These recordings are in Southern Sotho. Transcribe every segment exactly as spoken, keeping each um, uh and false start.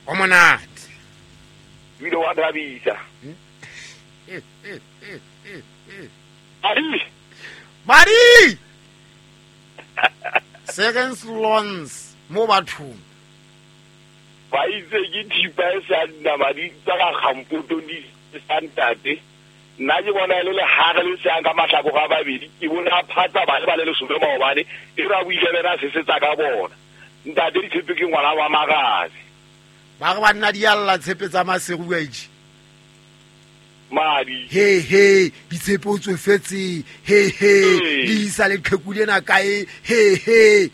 O monate. Bile wa thabisa. Madi. Madi. Seconds loans mo bathong. Ba itse ke thipa e sa nama di tsa ga gampoto di santate. Nna ke bona le le hare le seang ka mahlako ga babedi ke bona phatsa ba le ba le lesome maobane e ra buile bena se se tsa ka bona. Ntate ditshepe ke ngwana wa magazi. Ba re banna di alla tshepe tsa Maseru wa itse. Madi. He he ditshepe o tsofetse he he le isa le qheku lena kae he he.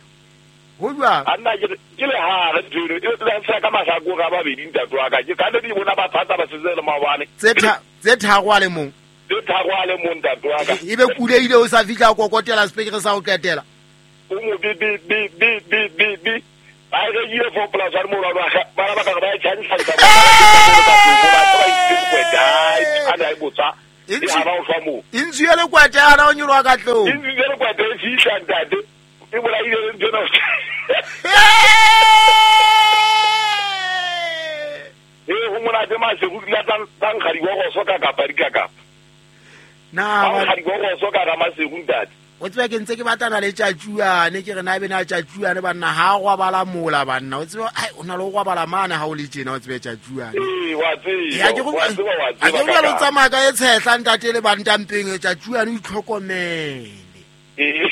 Ho jwang? Anna ke ke le hare tseno e tla tsa ka mahlako ga babedi ntate wa ka. Ke ka le di bona ba phatsa ba setse le maobane. Tse tha tse tharo a le mong. Tse tharo a le mong ntate wa ka. E be kule ile o sa fihla kokotela spekere sa ho qetela. O mo bi bi bi bi bi bi bi. Ba re ile for plus one mo ba ba ba ka ba tshantsa ka ba ba ba botsa e ha ba o shwa mo. Intsi le kwete ana o nyolwa ka tlong. Intsi le kwete e fihla ntate. E bola ile le tsena. E ho monate Maseru la tang tang ga di go so ka kapa di ka kapa. Na ga di go so ka ga Maseru ntate. O tseba ke ntse ke batlana le tjatjuane ke re na be na tjatjuane banna ha go bala mola banna o tseba ai o na le go bala mana ha o le tjena o tsebe tjatjuane. Ee wa tseba. Ya ke go wa tseba wa tseba. A ke go le tsamaya ka e tshehla ntate le bantampeng tjatjuane o itlhokomele. Ee.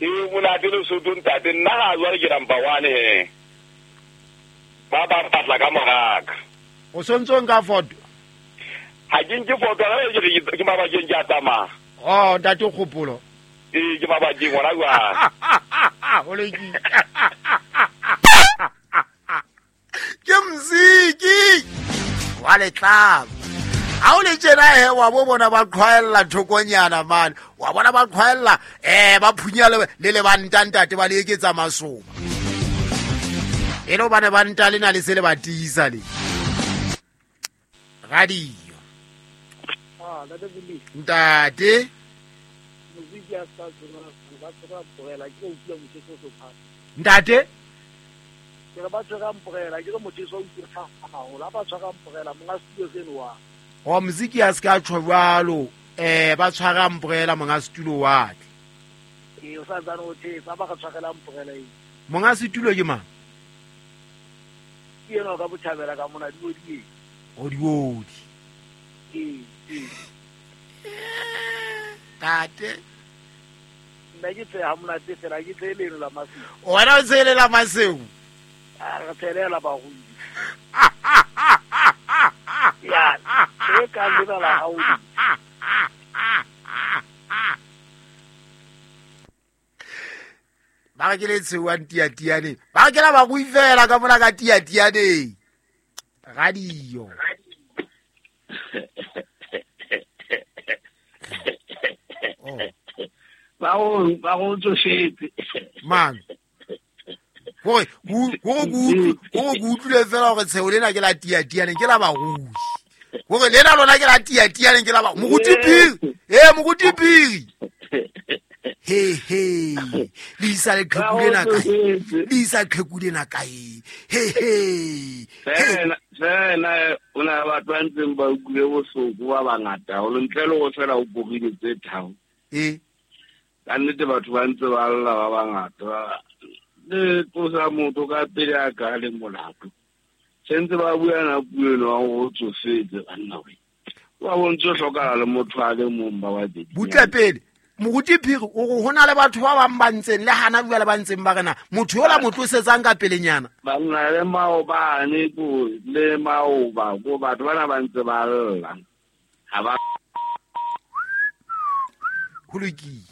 Ee monate le Sotho ntate nna ga jwale ke number one he. Ba ba patla ka moraka. O sontso nka photo. Ha ke nke photo ga ke ke mabakeng ke a tsamaya. Oh, ntate Kgopolo. Ee, ke mabakeng hona jwale. O lokile. Ke mziki. Wa letlamo. Ha o le tjena he wa bo bona ba qhwaella thokonyana man. Wa bona ba qhwaella eh ba phunya le le ba ntate ba le eketsa masoba. E lo bana ba nta lena le se le ba tiisa le. Radio. Ah, ntate Buli. Ntate. Moziki a sa tsona ba tsora porela ke utlwa motho o so Ntate. Ke re ba tshwara mporela ke re motho o utlwa haholo ba tshwara mporela monga studio seno wa. O moziki a ska tjho jwalo eh ba tshwara mporela monga studio wa tle. Ee o sa tsana o thetsa ba ga tshwarela mporela e. Monga studio ke mang? Ke yena ka bothabela ka mona di odi. O di odi. Ee ee. Tate. Nna ke tse ha monate fela ke tse leno la Maseru. Wena o tsele la Maseru. A re tshelela bagodi. Ya, ke ka lena la haudi. Ba ke le tshewa ntiatiane. Ba ke la ba go ifela ka mona ka tiatiane. Radio. Oh. Ba o ba go tsofetse. Man. Hore go go go go utlwile fela hore tsheo lena ke la tiatiane ke la barui. Hore lena lona ke la tiatiane ke la ba moruti Phiri. Eh moruti Phiri. He he. Le isa le qheku lena kae? Le isa qheku lena kae? He he. Fela fela o na batho ba ntseng ba utlwile bohloko ba bangata haholo ntle le ho fela o korile tse tharo. Eh. Ka nnete batho ba ntse ba lla ba bangata. Le tlosa motho ka pele a ka le molato. Sentse ba bua na puo eno wa go tsofetse banna we. Wa bontse hlokala le motho a le mong ba babedi. Butle pele. Moruti Phiri o re hona le batho ba bang ba ntseng le hana jwale ba ntseng ba rena motho yola mo tlosetsang ka pelenyana. Banna le maobane ko le maoba ko batho bana ba ntse ba lla. Ha ba ho lokile.